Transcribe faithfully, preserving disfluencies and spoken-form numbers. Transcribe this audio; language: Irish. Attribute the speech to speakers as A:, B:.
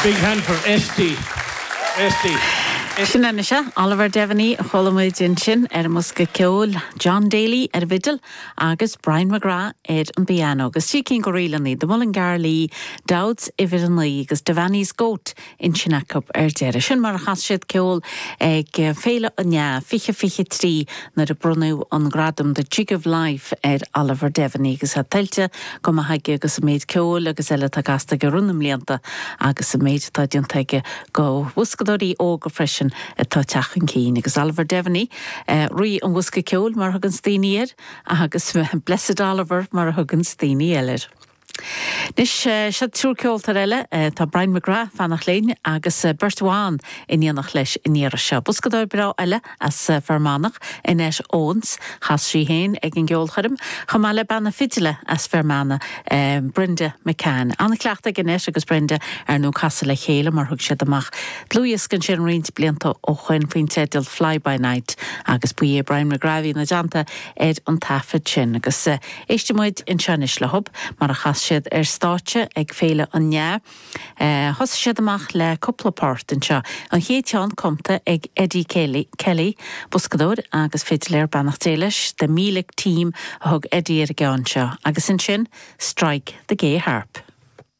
A: A big hand for Esty. Esty.
B: Sin anois Oliver Devaney a chuala muid ansin ar an mbosca ceoil John Daly ar an bhfidil agus Brian McGrath ar an bpianó, agus trí cinn de ríleanna de Mullingar Lee, Dowd's uimhir a naoi agus Devaney's Goat ansin acu ar deireadh. Sin mar a chas siad ceol ag Féile an Fhleadh fiche fiche trí nuair a bronnadh an gradam The Jig of Life ar Oliver Devaney agus é tuillte go maith aige agus an méid ceoil agus eile atá casta aige thar na mblianta agus an méid atá déanta aige do bhoscadóirí óga freisin atá ag teacht chun cinn agus Oliver Devaney uh, rí an bhosca ceoil mar a thugann daoine air agus Blessed Oliver mar a thugann daoine eile. Anois seo triúr ceoltóir eile tá Brian McGrath fanacht linn agus beirt bhan in éineacht leis an iarraidh seo. Boscadóir breá eile as Fear Manach Annette Owens chas sí féin ag an gceolchoirm, chomh maith le banna fidile as Fear Manach Brenda McCann. An-chleachtadh Annette agus Brenda ar nó casadh le chéile mar thug siad amach. Dlúthdhiosca sin roinnt blianta ó shin faoin teideal Fly by Night agus ba é Brian McGrath ina dteannta ar an taifead sin agus éistfidh muid anseo anois leo mar a chas siad ar stáitse ag Féile an Fhleadh. Uh, Thosaigh siad amach le cúpla port anseo. An chéad cheann cumtha ag Eddie Kelly, Kelly boscadóir agus fidiléir beannacht Dé leis de Meelick Team a thug Eddie ar an gceann seo, agus ansin Strike the Gay Harp.